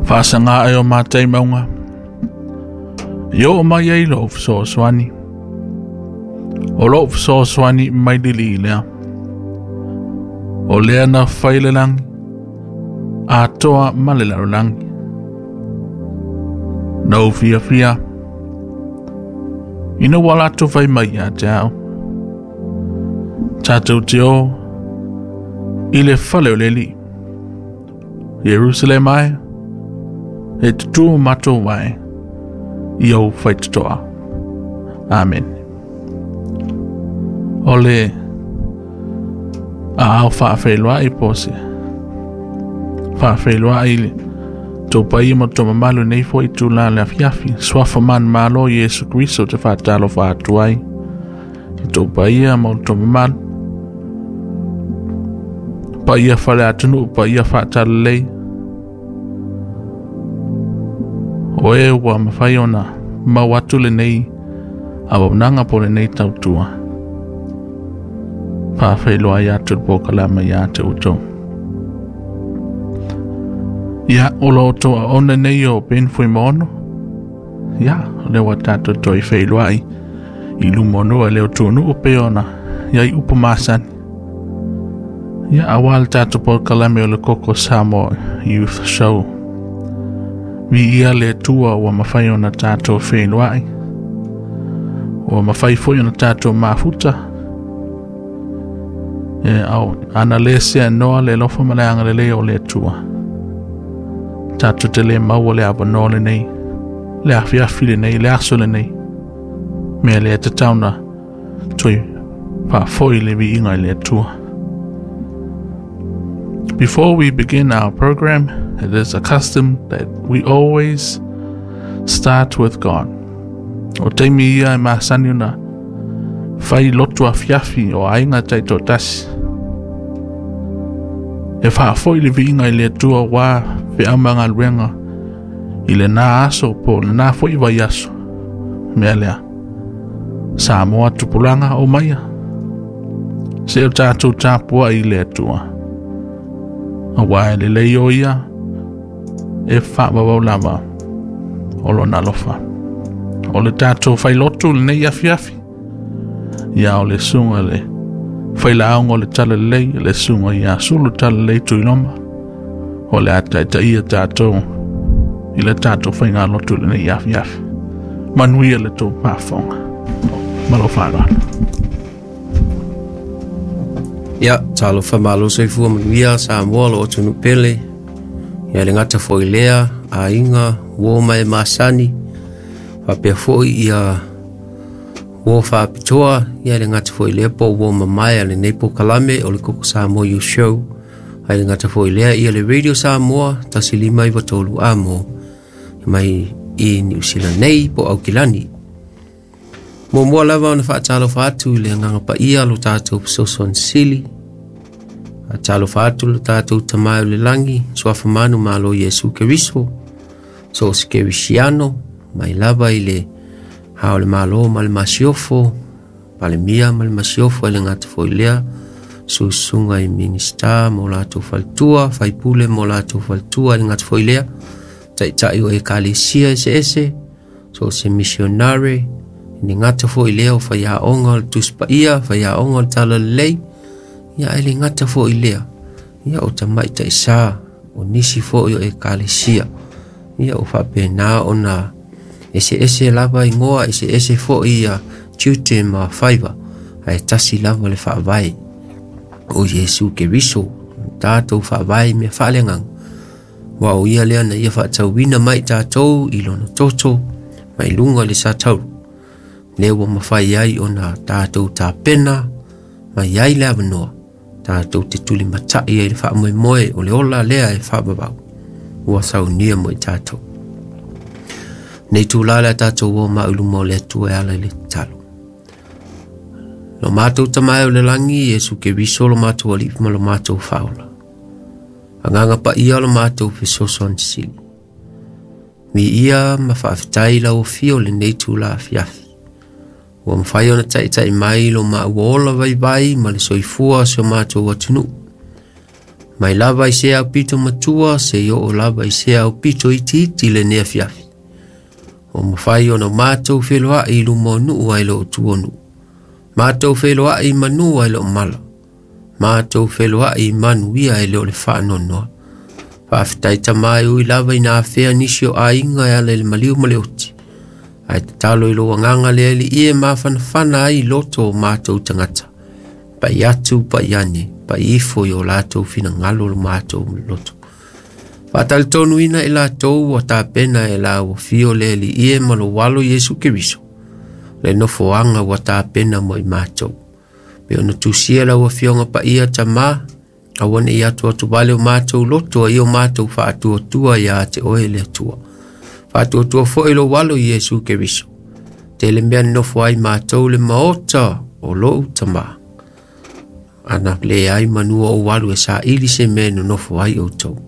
Faasagā e o matai mauga i oo mai ai lou fesoasoani. O lou fesoasoani mai le Alii lea. O lea na fai le lagi, atoa ma le lalolagi. Na ou fiafia ina ua latou fai mai ia te au. Tatou te o i le fale o le Alii. Ierusalema e, e tutū matou vae i ou faitotoa. Amen. O le aao faafeiloai po o se faafeiloai i le tou paia ma tou mamalu i lenei foi itula le afiafi. Suafa manumalo Iesu Keriso ou te faatalofa atu ai i tou paia ma outou mamalu. Paia fale atunuu, paia faatalelei. O e ua mafai ona mau atu lenei auaunaga po o lenei tautua. Faafeiloai atu le polokalame ia te outou. Ia, o lo outou aona nei o Ben Fuimaono. Ia, o lea ua tatou toe feiloai i luma o nuu e le o tuanuu pei ona i ai upu masani. Ia, aua le tatou polokalame o le Koko Samoa Youth Show. Viia le Atua ua mafai ona tatou feiloai. Ua mafai foi ona tatou mafuta. E au, ana le seanoa le alofa ma le agalelei o le Atua. Tatou te le maua le avanoa lenei, le afiafi lenei, le aso lenei. Mea lea e tatau ona toe faafoi le viiga i le Atua. Before we begin our program, it is a custom that we always start with God. O taimi ia e masani ona fai lotu afiafi o aiga taitoatasi. E faafoi le viiga i le Atua aua feau ma galuega i lena aso po o lena foi vaiaso. Mea lea, Samoa tupulaga o maia, se o tatou tapuai i le Atua. Aua e lelei o ia e faavavau lava o lona alofa. O le tatou failotu lenei afiafi, ia o le susuga i le failaoga o le Talalelei, le susuga ia Sulu Talalelei Tuiloma, o le a taitaia tatou i le tatou faigalotu lenei afiafi. Manuia le tou faafofoga. Ma lou faaaloalo. Ia, talofa malo soifua manuia Samoa lo atunuu pele. Ia le gata foi lea, aiga, uo ma e masani, faapea foi ia uo faapitoa, ia le gata foi lea po uo mamae a lenei polokalame o le Koko Samoa Youth Show. Ai le gata foi lea ia le Radio Samoa 1593 amo mai i Niu Sila nei po Aukilani. Muamua lava ona faatalofa atu i le agaga paia lo tatou fesoasoani sili. Faatalofa atu lo tatou Tama o le lagi, suafa manu malo Iesu Keriso, so o se Kerisiano, mai lava i le Hao o le Malo ma le Masiofo, Palemia ma le Masiofo e le gata foi lea, susuga i Minista mo latou faletua, faipule mo latou faletua e le gata foi lea, taitai o ekalesia eseese, so o se missionary, e le gata foi lea o faiaoga o le Tusi Paia, faiaoga o le Talalelei, ia e le gata foi lea, ia o tamaitai sa, o nisi foi o ekalesia, ia o faapena ona eseese lava igoa, eseese foi ia tiute ma faiva, ae tasi lava le faavae o Iesu Keriso, tatou faavae i mea faaleagaga. Aua o ia lea na ia faatauina mai tatou i lona toto mai luga i le satauru, lea ua mafai ai ona tatou tapena mai ai le avanoa tatou te tulimatai ai le faamoemoe o le ola lea e faavavau ua saunia mo i tatou. Nei tūlā le a tatou o mau i luma o le Atua e ala i le tatalo. Lo matou Tama e o le lagi, Iesu Keriso lo matou Alii ma lo matou Faaola. Agaga paia lo matou fesoasoani sili. Viia ma faafetai lau afio lenei tula afiafi. Ua mafai ona taitai mai lo maua ola vaivai ma le soifua o si o matou atunuu. Mai lava i se aupito matua seia oo lava i se aupito itiiti lenei afiafi. Ua mafai ona matou feloai i luma o nuu ae le o tua o nuu. Matou feloai i manu ae le o mala. Matou feloai i manuia ae le o le faanoanoa. Faafetai Tama e ui lava ina afea nisi o aiga e ala i le maliu ma le oti. Ae tatalo i lou agaga le Alii e mafanafana ai i loto o matou tagata. Pai atu, pai ane, pai ifo i o latou finagalo lo matou loto. Faatalitonu i latou ua tapena e la ua fio le Alii e ma lou alo Iesu Keriso. Le nofoaga ua tapena mo i matou. Pe ona tusia lau afioga paia Tama, aua ne i atu atu vale o matou loto ai o matou faatuatua ia te oe le Atua. Faatuatua foi lou alo Iesu Keriso. Tele mea nofo ai matou le maota o lou Tama. Ana le ai manua o alu e saili se mea nonofo ai outou.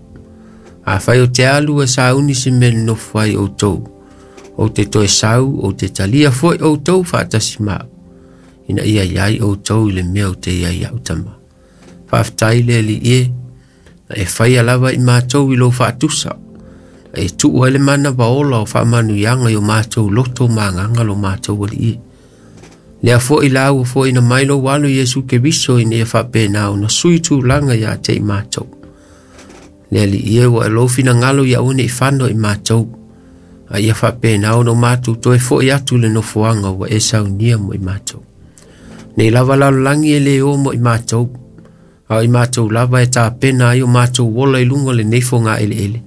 Afai o te alu e sauni se mea nonofo ai outou. Ou te toe sau, ou te talia foi outou faatasi ma au. Ina ia iai outou i le mea o te iai au Tama. Faafetai le Alii e, na e faia lava i matou i lou faatusa. Na e tuu ai le manava ola o faamanuiaga i o matou loto ma agaga lo matou Alii e. Lea foi la ua foi na mai lou alo Iesu Keriso ina ia faapena ona sui tulaga ia te i matou. Le Alii e ua e lou finagalo ia aua ne i fano i matou. A ia faapena ona o matou toe foi atu le nofoaga ua e saunia mo i matou. Nei lava lalolagi e le o mo i matou. A o i matou lava e tapena ai o matou ola i luga o lenei fogaeleele.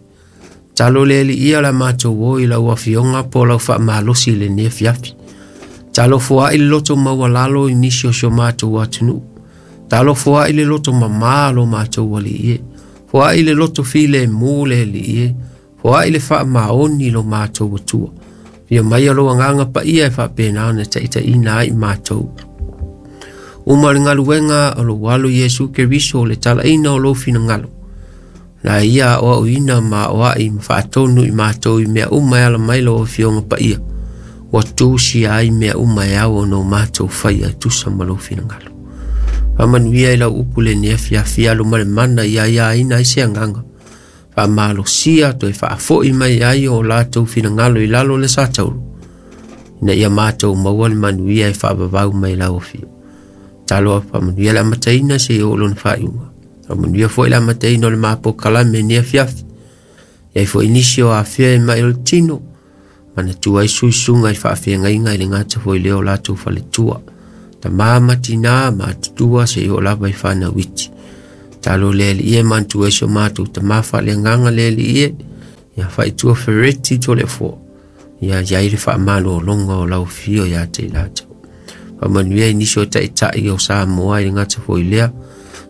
Talo le Alii ia la matou o i lau afioga po lau faamalosi i lenei afiafi. Talo foai le loto maualalo i nisi o si o matou atunuu. Talo foai le loto mamā lo matou Alii e. Foai le loto filemu le Alii e. Foai le faamaoni lo matou Atua. Fia mai lou agaga paia e faapena ona taitaiina ai matou. Uma le galuega o lou alo Iesu Keriso o le talaina o lou finagalo. La ia o au ina ma o ai ma faatonu i matou i mea uma e ala mai lau afioga paia. Ua tusia ai mea uma e ao ona o matou faia e tusa ma lou finagalo. Faamanuia i lau upu lenei afiafi alo ma le mana ia aiaina ai se agaga. Faamalosia toe faafoi mai ai o latou finagalo i lalo o le satauro. Ina ia matou maua le manuia e faavavau mai lau afio. Talo faamanuia le amataina seia oo lona faaiuga. Faamanuia foi le amataina o le mapokalame lenei afiafi. Iai foi nisi o afea e mai o le tino. Manatua ai suisuga i faafeagaiga i le gata foi lea o latou faletua. Tama ma tina ma atutua seia oo lava i fanau iti. Talo le Alii e manatua ai si o matou tama faaleagaga le Alii e. Ia faaitua fereti Toleafoa. Ia iai le faamalologa o lau afio ia te i latou. Faamanuia i nisi o taitai o Samoa i le gata foi lea.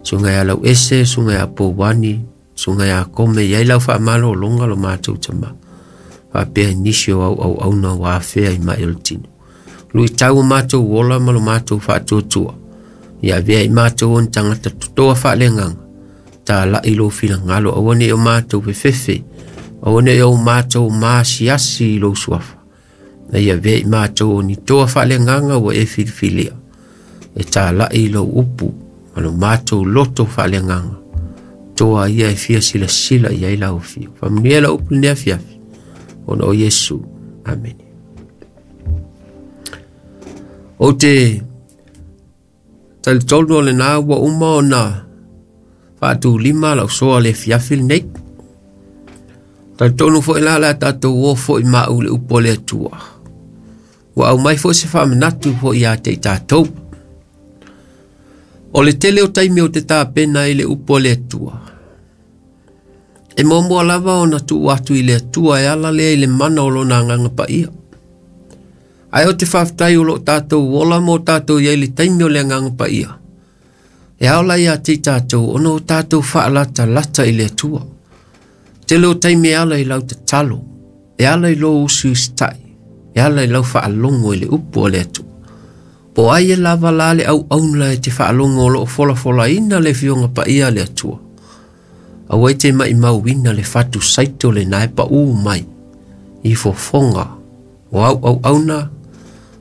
Suga ia lau ese, suga ia Pouani, suga ia Kome, iai lau faamalologa lo matou Tama. Faapea nisi o au auauna ua afea i mai o le tino. Luitau o matou ola ma lo matou faatuatua. Ia avea i matou o ni tagata totoa faaleagaga. Talai lou finagalo aua ne i o matou fefefe. Aua ne i o matou maasiasi i lou suafa. Na ia avea i matou o ni toa faaleagaga ua e filifilia. E talai lou upu ma lo matou loto faaleagaga. Toa ia e fia silasila i ai lau afio. Faamanuia lau upu lenei afiafi. Ona o Iesu. Amene. Ou te talitonu o lena ua uma ona faatulima lau soa le afiafi lenei. Talitonu foi la le a tatou o foi maau le upu a le Atua. Ua aumai foi se faamanatu foi ia te i tatou. O le tele o taimi o te tapena ai le upu a le Atua. E muamua lava ona tuu atu i le Atua e ala lea i le mana o lona agaga paia. Ae o te faafetai o loo tatou ola ma o tatou iai le taimi o le agaga paia. E ao la ia te i tatou ona o tatou faalatalata i le Atua. Tele o taimi e ala i lau tatalo, e ala i lou usiusitai, e ala i lau faalogo i le upu a le Atua. Po ai e lava la le auauna e te faalogo o loo folafolaina le afioga paia a le Atua. Aua e te maimauina le fatu saito lena e paū mai i fofoga o au auauna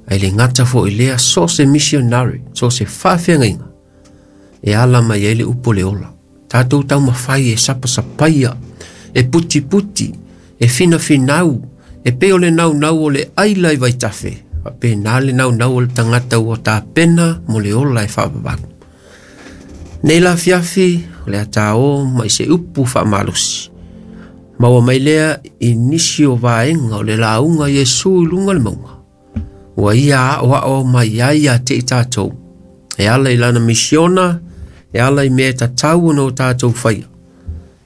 ai le gata foi lea so se missionary, so se faafeagaiga e ala mai ai le upu o le ola. Tatou taumafai e sapasapaia, e putiputi, e finafinau, e pei o le naunau o le aila i vaitafe, faapena le naunau o le tagata ua tapena mo le ola e faavavau. Nei la afiafi, o le a tāō mai se upu faamalosi. Maua mai lea i nisi o vaega o le lauga a Iesu i luga o le mauga. Ua ia aoao mai ai ia te i tatou. E ala i lana misiona, e ala i mea e tatau ona o tatou faia,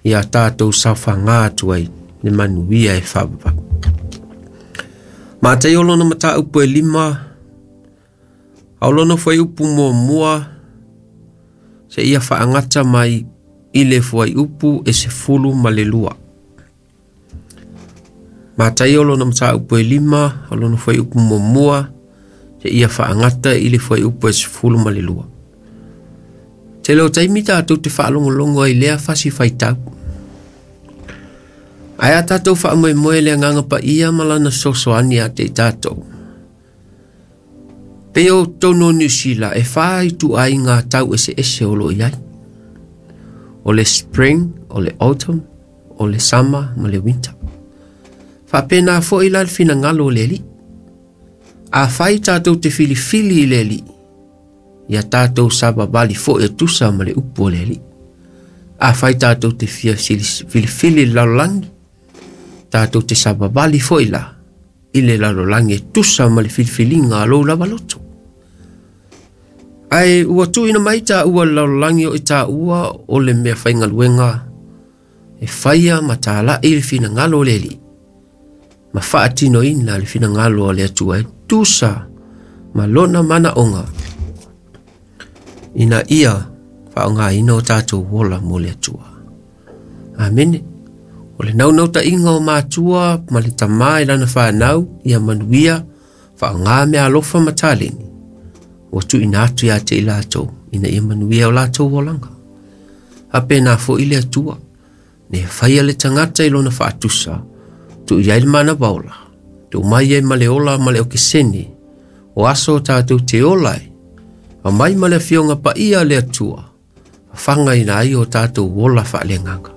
ia tatou saofaga atu ai le manuia e faavavau. Mataio lona mataupu e 5, a o lona fuaiupu muamua, seia faagata mai i le fuaiupu e 12. Mataio lona mataupu e 5, a o lona fuaiupu muamua, seia faagata i le fuaiupu e 12. Tele o taimi tatou te faalogologo ai lea fasi faitau. Ae a tatou faamoemoe le agaga paia ma lana fesoasoani ia te i tatou. Pei o totonu o Niu Sila e 4 ituaiga tau eseese o lo o i ai. O le spring, o le autumn, o le summer ma le winter. Faapena foi la le finagalo o le Alii. Afai tatou te filifili i le Alii, ia tatou savavali foi e tusa ma le upu o le Alii. Afai tatou te fia filifili i le lalolagi, tatou te savavali foi la i le lalolagi e tusa ma le filifiliga a lou lava loto. Ae ua tuuina mai taua le lalolagi o i taua o le mea faigaluega e faia ma talai le finagalo o le Alii, ma faatinoina le finagalo o le Atua e tusa ma lona manaoga, ina ia faaaogaina o tatou ola mo le Atua. Amene. O le naunautaiga o matua ma le tamā i lana whanau, ia manuia, faaaoga mea alofa ma taleni, ua tuuina atu ia te i latou, ina ia manuia o latou olaga. Faapena foi le Atua, ne faia le tagata i lona faatusa, tuu i ai le manava ola, tuu mai ai ma le ola ma le okesene, o aso o tatou te ola ai, aumai ma le afioga paia a le Atua, fafaga ina ai o tatou ola faaleagaga.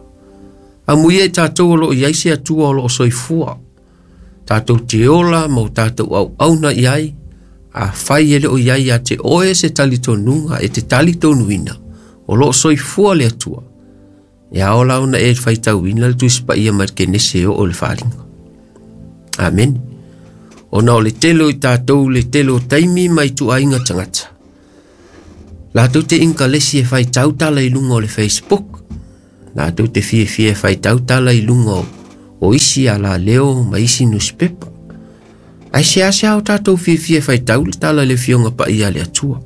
Amuia i tatou o loo i ai se Atua o loo soifua, tatou te ola ma o tatou auauna i ai, afai e le o i ai ia te oe se talitonuga e te talitonuina, o loo soifua le Atua, e ao la ona e faitauina le Tusi Paia mai le Kenese e oo i le Faaaliga. Amene. Ona o le tele o i tatou le tele o taimi ma ituaiga tagata. Latou te inkalesi e faitau tala i luga o le Facebook. Latou te fiafia e faitau tala i luga o isi alaleo ma isi newspaper. Ae seasea o tatou fiafia e faitau le tala i le afioga paia a le Atua.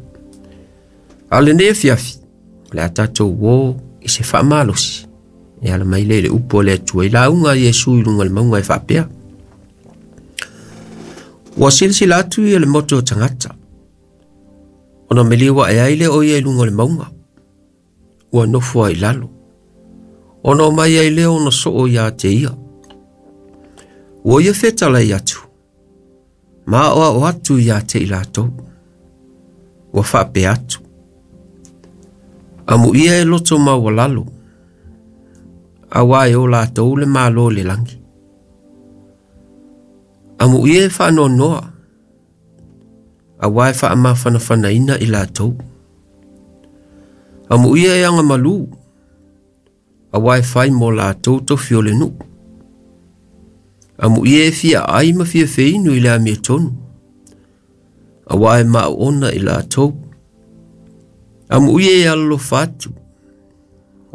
A o lenei afiafi, o le a tatou o i se faamalosi. E ala mai lea i le upu a le Atua i lauga a Iesu i luga o le mauga e faapea. Ua silasila atu ia le motu o tagata, ona meliu ae ai lea o ia i luga o le mauga, ua nofo ai i lalo. Ona o mai ai lea ona soo ia te ia. Ua ia fetalai atu, ma aoao atu ia te i latou. Ua faapea atu, amuia e loto maualalo, auā e o latou le malo i le lagi. Amuia e faanoanoa, auā e faamafanafanaina i latou. Amuia e agamalu, auā e fai mo latou tofi o le nuu. Amuia e fia ai ma fia feinu i le amiotonu, auā e maoona i latou. Amuia e alolofa atu,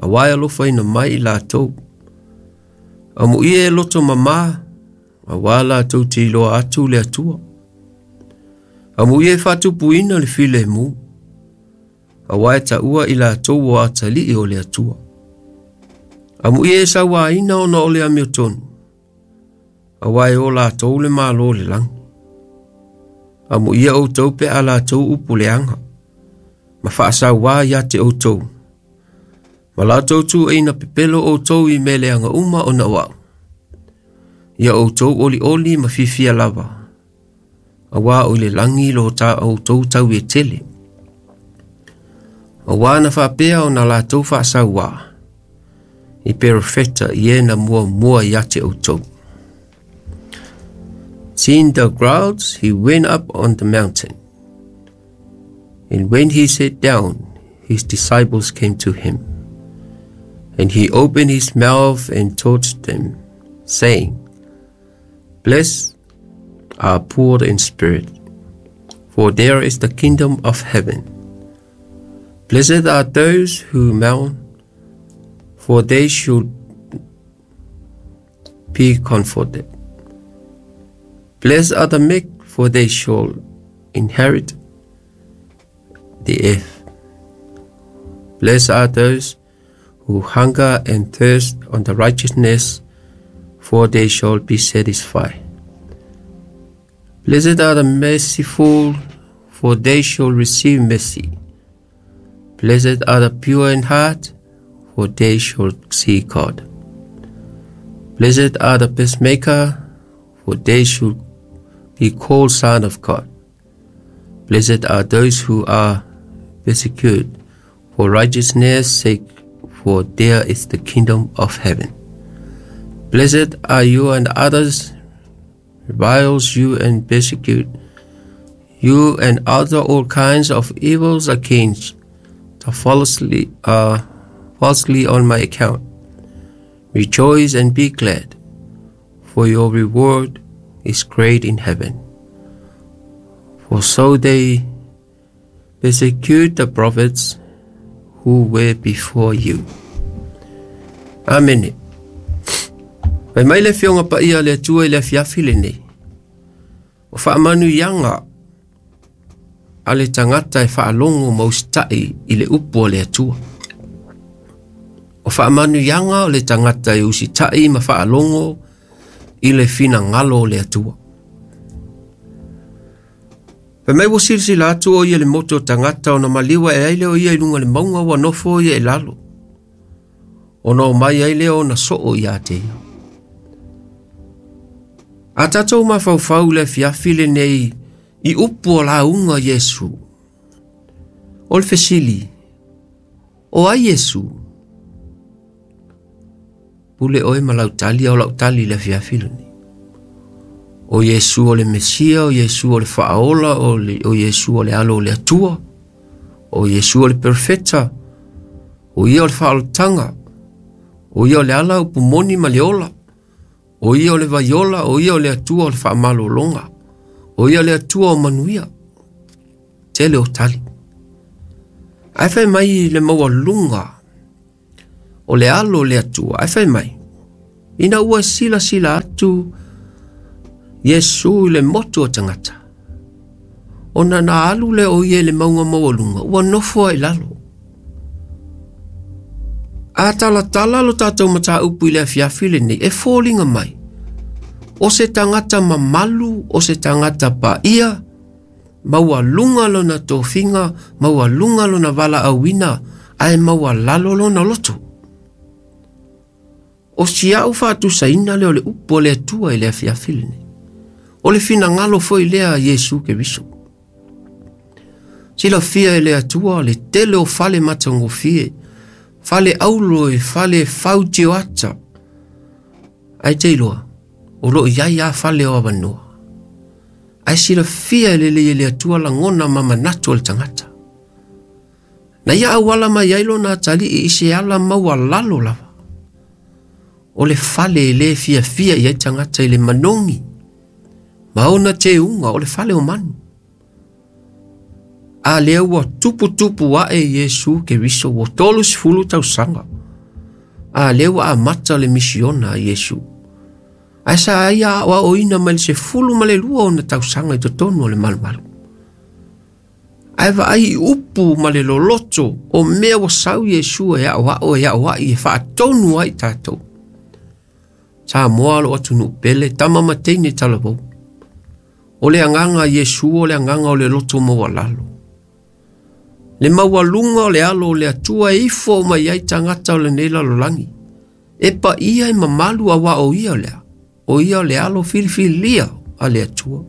auā e alofaina mai i latou. Amuia e loto mamā, auā latou te iloa atu le Atua. Amuia e faatupuina le filemu, auā e taua i latou o atalii o le Atua. Amuia e sauaina ona o le amiotonu, auā e o latou le malo o le lagi. Amuia outou pe a latou upu leaga, ma faasauā ia te outou, ma latou tuuaina pepelo outou i mea leaga uma ona o au. Ia outou olioli ma fiafia lava, auā o i le lagi lo ta outou tau e tele. Auā na faapea ona latou faasauā, I perofeta i e na muamua ia te outou. Seeing the crowds, he went up on the mountain. And when he sat down, his disciples came to him. And he opened his mouth and taught them, saying, Blessed are poor in spirit, for there is the kingdom of heaven. Blessed are those who mourn, for they should be comforted. Blessed are the meek, for they shall inherit the earth. Blessed are those who hunger and thirst on the righteousness, for they shall be satisfied. Blessed are the merciful, for they shall receive mercy. Blessed are the pure in heart, for they shall see God. Blessed are the peacemaker, for they shall be called sons of God. Blessed are those who are persecuted for righteousness' sake, for there is the kingdom of heaven. Blessed are you and others reviles you and persecute you and other all kinds of evils against the falsely on my account. Rejoice and be glad, for your reward is great in heaven. For so they persecute the prophets who were before you. Amen. Pai mai le fionga pa ia le atua i le afiafi lenei. O whaamanu ianga a le tangata e whaalongo mausita'i i le upu o le atua. O whaamanu ianga o le tangata e usita'i ma whaalongo i le whina ngalo o le atua. Pai mai wo silasila atu o ia le moto o tangata o na maliwa e aile o ia i lunga le maunga ua nofo ia e lalo. O na o mai aile o na soo ia te ia. A tātou mafaufau le afiafi lenei i upu o launga Iesu. O le fesili, o ai Iesu? Pule oe ma lautali o lautali le afiafi lenei. O Iesu o le Mesia, o Iesu o le Faaola, o Iesu o le alo o le Atua, o Iesu o le Perfeta, o ia o le Faaolataga, o ia o le ala upu moni ma le ola, o ia o le vaiola, o ia o le Atua o le faamalologa, o ia o le Atua o manuia. Tele o tali. Ae fai mai le maualuga o le alo o le Atua, ae fai mai, ina ua silasila atu Iesu i le motu o tagata. Ona na alu le o ia i le mauga maualuga, ua nofo ai i lalo. A talatala lo tātou mataupu i le afiafi lenei, e foliga mai. O se tagata mamalu, o se tagata paia, maualuga lona tofiga, maualuga lona valaauina, ae maualalo lona loto. O sia'u faatusaina lea o le upu o le Atua i le afiafi lenei. O le finagalo foi lea Iesu Keriso. Silafia e le Atua le tele o fale matagofie, fale aulo e fale fautioata. Ae te iloa, o loo iai a fale o avanoa. Ae silafia e lelei e le Atua lagona ma manatu o le tagata. Na ia auala mai ai lona atalii i se ala maualalo lava. O le fale e lē fiafia i ai tagata i le manogi, ma ona teuga o le fale o manu. A lea ua tuputupu ae Iesu Keriso ua 30 tausaga. A lea ua amata le misiona a Iesu. Ae sa ia aoaoina mai le 12 ona tausaga i totonu o le malumalu. Ae vaai i upu ma le loloto o mea ua sau Iesu e aoao e aoai e faatonu ai tatou. Samoa lo atunuu pele, tama ma teine talavou. O le agaga Iesu o le agaga o le loto maualalo. Le maualuga o le alo o le Atua e ifo mai ai tagata o lenei lalolagi. E paia e mamalu auā o ia lea. O ia o le alo filifilia a le Atua.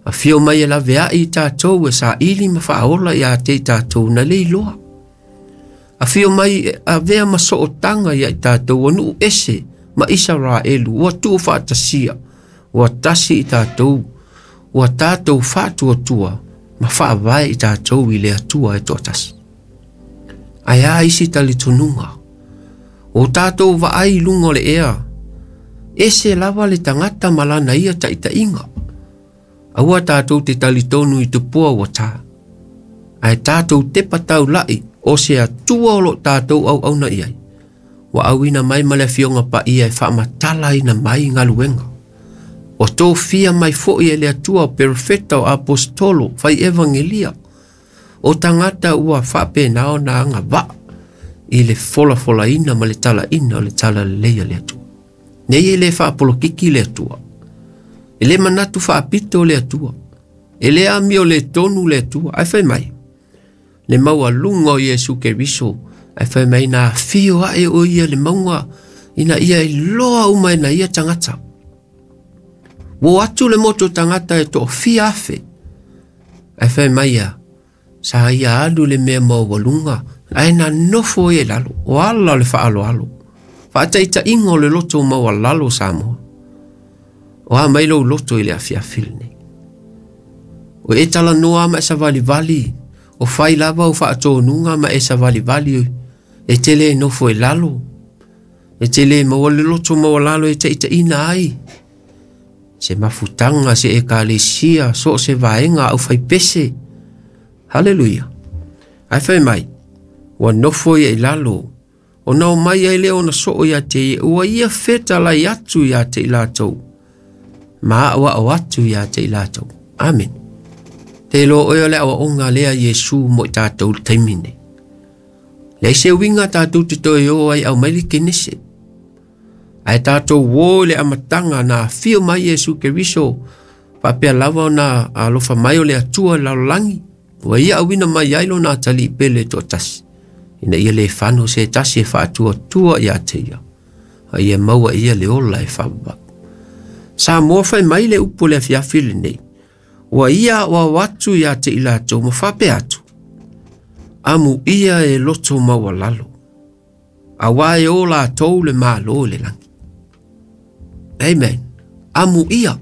Afio mai e laveai i tatou e saili ma faaola ia te i tatou na le iloa. Afio mai e avea ma sootaga ia i tatou ua nuu ese ma Isaraelu ua tuufaatasia ua tasi i tatou ua tatou faatuatua ma faavae i tatou i le Atua e toatasi. Ae a isi talitonuga o tatou vaai i luga o le ea, ese lava le tagata ma lana ia taitaiga. Aua tatou te talitonu i tupua ua tā. Ae tatou tepa taulai o se Atua o lo tatou auauna i ai. Ua auina mai ma le afioga paia e faamatalaina mai galuega. Ua tofia mai foi e le Atua o perofeta o apostolo fai evangelia. O tagata ua faapena ona agavaa i le folafolaina ma le talaina o le talalelei a le Atua. Nei e le faapolokiki le Atua. E le manatu faapito le Atua. E le amio le tonu le Atua. Ae fai mai, le maualuga o Iesu Keriso, ae fai mai na afio ae o ia le mauga ina ia iloa uma e na ia tagata. Ua atu le moto tagata e toafia afe. Ae fai mai ia, sa ia alu le mea maualuga, ae na nofo ia i lalo, o ala o le faaaloalo. Faataitaiga o le loto maualalo Samoa. O a mai lou loto i le afiafi lenei. O e talanoa ma e savalivali, o fai lava o faatonuga ma e savalivali, e te le nofo i lalo, e te le maua le loto maualalo e taitaiina ai. Se mafutaga, se ekalesia, so o se vaega au faipese. Haleluia. Ae fai mai, ua nofo ia i lalo, ona o mai ai lea ona soo ia te ia, ua ia fetalai atu ia te i latou, ma aoao atu ia te i latou. Amen. Te iloa oe o le aoaoga lea Iesu mo i tatou i le taimi nei. Leai se uiga tatou te toe o ai aumai le Kenese. Ae tatou o i le amataga na afio mai Iesu Keriso, faapea lava ona alofa mai o le Atua i le lalolagi, ua ia auina mai ai lona atalii pele toatasi, ina ia le fano se tasi e faatuatua ia te ia, a ia maua ia le ola e faavavau. Samoa fai mai le upu o le afiafi lenei, ua ia aoao atu ia te i latou ma faapea atu, amu ia e loto maualalo, auā e o latou le Malo i le lagi. Amen. Amu ia.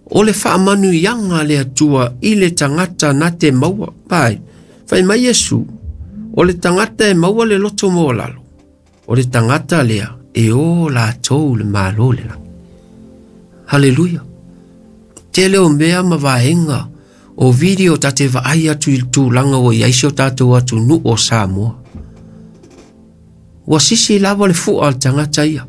O le faamanuiaga a le Atua i le tagata na te maua. Pai, fai mai Iesu, o le tagata e maua le loto maualalo, o le tagata lea e o latou le Malo i le lagi. Haleluia. Tele o mea ma vaega o video ta te vaai atu i le tulaga ua i ai si o tatou atunuu o Samoa. Ua sisi lava le fua a le tagata ia.